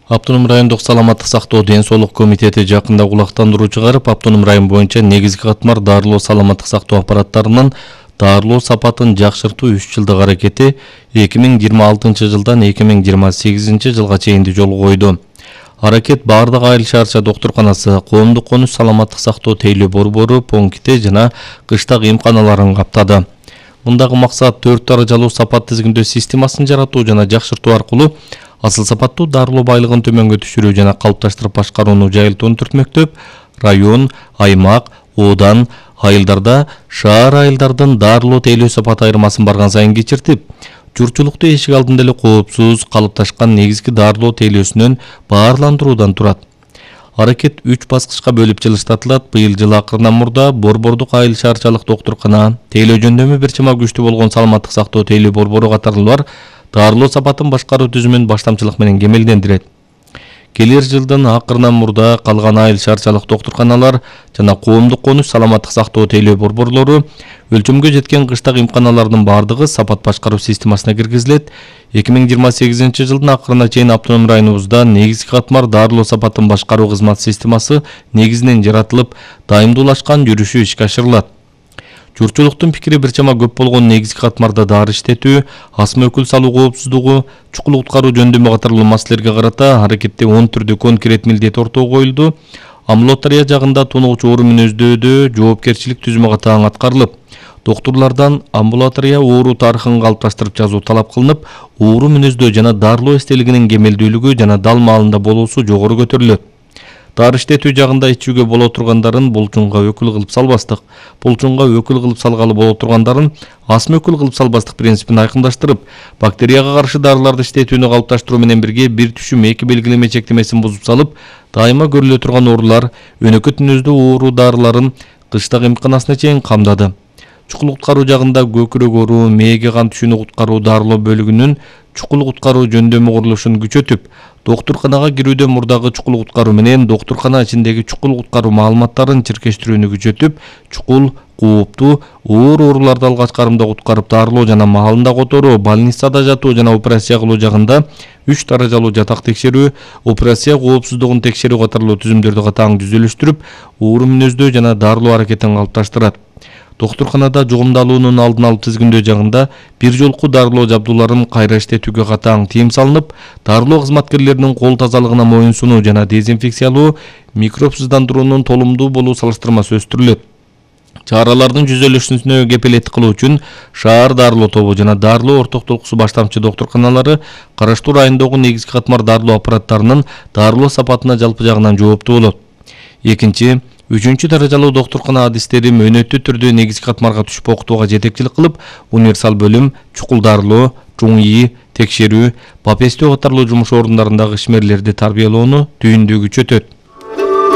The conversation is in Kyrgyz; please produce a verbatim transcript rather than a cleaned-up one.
Автоном райондук саламаттык сактоо ден соолук комитети жакында кулактандыруу чыгарып, автоном район боюнча негизги катмар дарылоо саламаттык сактоо аппараттарынын дарылоо сапатын жакшыртуу үч жылдык аракети эки миң жыйырма алтынчы жылдан эки миң жыйырма сегизинчи жылга чейин жолго койду. Аракет бардык айыл шаарча доктурканасы, коомдук конуш саламаттык сактоо тейлөө борбору, пункти жана кыштак эмканаларын каптады. Мындагы максат төрт даражалуу сапат тизгиндөө системасын жаратуу жана жакшыртуу аркылуу асыл сапаттуу дарылоо байлыгын төмөнгө түшүрүү жана калыпташтырып башкарууну жайылтууну түртмөктөп, район, аймак, оодан, айылдарда шаар айылдардын дарылоо тейлөө сапат айырмасын барган сайын кичиртип, журтчулукту эшик алдында эле коопсуз калыпташкан негизги дарылоо тейлөөсүнөн баарландыруудан турат. Аракет үч баскычка бөлүп жылыштатылат. Быйыл жыл акырынан мурда борбордук айыл шаарчалык доктуркана, тейлөө жөндөмү бир чама күчтүү болгон саламаттык сактоо тейлөө борбору катарлуулар дарылоо сапатын башкаруу түзүмүн баштамчылык менен кемелдендирет. Келер жылдын акырынан мурда калган айыл шаарчалык доктурканалар жана коомдук конуш саламаттык сактоо тейлөө борборлору өлчөмгө жеткен кыштак эмканалардын бардыгы сапат башкаруу системасына киргизилет. эки миң жыйырма сегизинчи жылдын акырына чейин автоном районубузда негизги катмар дарылоо сапатын башкаруу кызмат системасы негизинен жаратылып, дайымдуулашкан жүрүшү ишке ашырылат. Журтчулуктун пикири бир чама көп болгон негизги катмарда дары иштетүү, асма өкүл салуу коопсуздугу, чукул куткаруу жөндөмү катарлуу маселелерге карата аракетте он түрдүү конкрет милдет ортого коюлду. Амбулатория жагында тонугучу оору мүнөздөөдө жоопкерчилик түзүмү катаң аткарылып, доктурлардан амбулатория оору тарыхын калыпташтырып жазуу талап кылынып, оору мүнөздөө жана дарылоо эстелигинин кемелдүүлүгү жана дал маалында болуусу жогору көтөрүлөт. Дары иштетүү жагында ичүүгө боло тургандарын булчунга өкүл кылып салбастык, булчунга өкүл кылып салгалы боло тургандарын асма өкүл кылып салбастык принципин айкындаштырып, бактерияга каршы дарыларды иштетүүнү калыпташтыруу менен бирге бир түшүм эки белгилеме чектемесин бузуп салып, дайыма көрүлө турган оорулар, өнөкөт мүнөздүү оору дарыларын кыштак эмканасына чейин камдады. Чукул куткаруу жагында көкүрөк оору, мээге кан түшүүнү куткаруу дарылоо бөлүгүнүн чукул куткаруу жөндөмү курулушун күчөтүп, доктурканага кирүүдө мурдагы чукул куткаруу менен доктуркана ичиндеги чукул куткаруу маалыматтарын чиркештирүүнү күчөтүп, чукул, кооптуу, оор ооруларды алгач карымда куткарып дарылоо жана маалында которуу, больницада жатуу жана операция кылуу жагында үч даражалуу жатак текшерүү, операция коопсуздугун текшерүү катарлуу түзүмдөрдү катаң түзүлүштүрүп, оору мүнөздөө жана дарылоо аракетин калыпташтырат. Доктурканада жугумдалуунун алдын алып тизгиндөө жагында бир жолку дарылоо жабдууларын кайра иштетүүгө катаң тыйым салынып, дарылоо кызматкерлеринин кол тазалыгына моюнсунуу жана дезинфекциялоо, микробсыздандыруунун толумдуу болуу салыштырмасы өстүрүлөт. Чаралардын жүзөлүшүнө кепилеттик кылуу үчүн шаар дарылоо тобу жана дарылоо ортоктулуксу баштамчы доктурканалары караштуу райондогу негизги катмар дарылоо аппараттарынын дарылоо сапатына жалпы жагынан жооптуу болот. Экинчи, үчүнчү даражалуу доктуркана адистери мөөнөттүү түрдө негизги катмарга түшүп окутууга жетекчилик кылып, универсал бөлүм, чукул дарылоо, чуң ии, текшерүү, папестөө катарлуу жумуш орундарындагы ишмерлерди тарбиялоону түйүндүү күчөтөт.